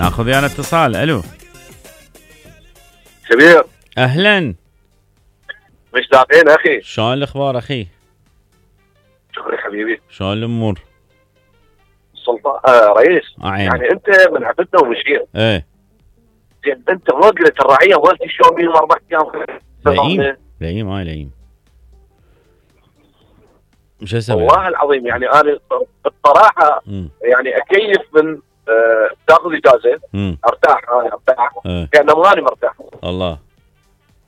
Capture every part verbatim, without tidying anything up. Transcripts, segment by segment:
ناخذ يانا اتصال. الو كبير، اهلا، مشتاقين اخي. شلون الاخبار اخي؟ شكرا حبيبي. شلون الامور؟ سلطان آه رئيس، عين. يعني انت من عفتنا ومشيت. ايه زين انت ما قلت الرعيه مالتي شلون بيهم اربع ايام؟ لئيم لئيم هاي لئيم. مش اسوي؟ والله العظيم يعني انا بصراحه يعني اكيف من آه تاخذ اجازه ارتاح، انا ارتاح اه. كانه ماني مرتاح. الله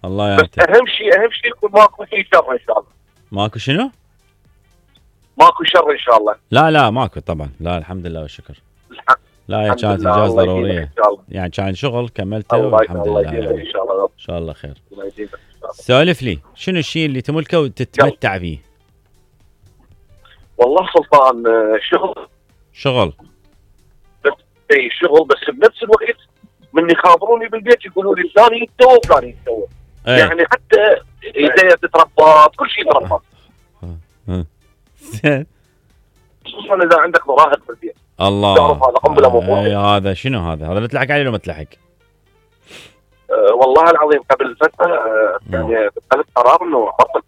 الله يا بس اهم شيء اهم شيء يكون ماكو شيء شر ان شاء الله. ماكو شنو؟ ماكو شر ان شاء الله. لا لا ماكو طبعا، لا الحمد لله والشكر. لا هي كانت اجازه ضروريه يعني، كان شغل كملته والحمد لله. يعني. ان شاء الله ان شاء الله خير. سولف لي شنو الشيء اللي تملكه وتتمتع فيه؟ والله سلطان شغل شغل بس اي شغل، بس بنفس الوقت من يخابروني بالبيت يقولوا لي فلان يتسوى فلان يتسوى. ايه. يعني حتى ايديه تتربط، كل شيء يتربط. زين. خصوصا اذا عندك مراهق بالبيت. الله. تعرف هذا قنبله موضوع. اي هذا شنو هذا؟ هذا بتلحق عليه ولا ما تلحق؟ أه والله العظيم قبل فتره أه يعني اتخذت قرار انه ابطل.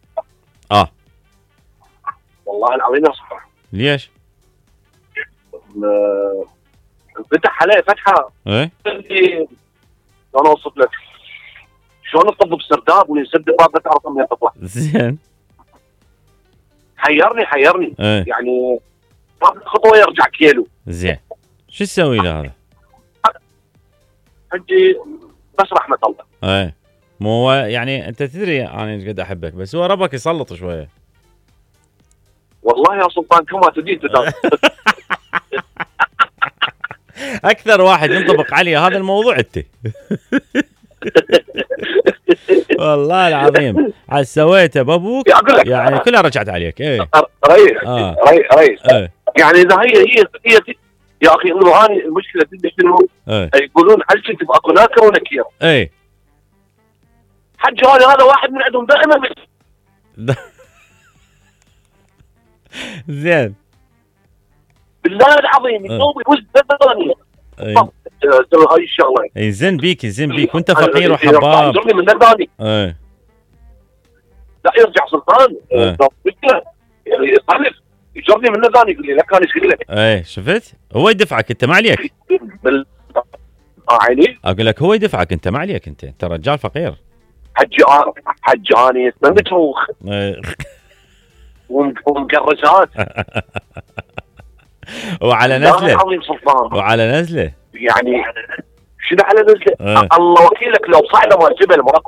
اه والله العظيم يا صح. ليش؟ أه فتح عليه فتحه. ايه شلون اوصف لك؟ شلون الطب بسرداب ويسد باب ما تعرف منين تطلع. زين. حيرني حيرني ايه. يعني خطوه يرجع كيلو. زين شو تسوي له هذا؟ حجي بس رحمه الله. ايه مو هو يعني انت تدري انا ايش قد احبك، بس هو ربك يسلط شويه. والله يا سلطان كما تدين تدان. اكثر واحد ينطبق عليه هذا الموضوع انت. والله العظيم عاد سويته بابوك يعني كلها رجعت عليك. ايه ريس آه. ريس ايه. يعني اذا هي هي هي يا اخي انه اني المشكله تدري شنو؟ ايه. يقولون هل كنت باكو ناكر ونكير؟ ايه حج هذا هذا واحد من عندهم دائما. زين بالله العظيم يسوي وز ثانيه. هاي الشغله يزن بيك يزن بيك وانت فقير وحباب. يجرني من ثاني. ايه لا يرجع سلطان. مشكله يعني يصرف يجرني من ثاني يقول لي لك انا ايش لك. ايه شفت؟ هو يدفعك انت ما عليك. بال اه عيني اقول لك هو يدفعك انت ما عليك، انت انت رجال فقير. حج حجاني اسمه متروخ ومقرشات وعلى نزله وعلى نزله يعني شنو على نزله؟ اه. الله وكيلك لو صعده مال جبل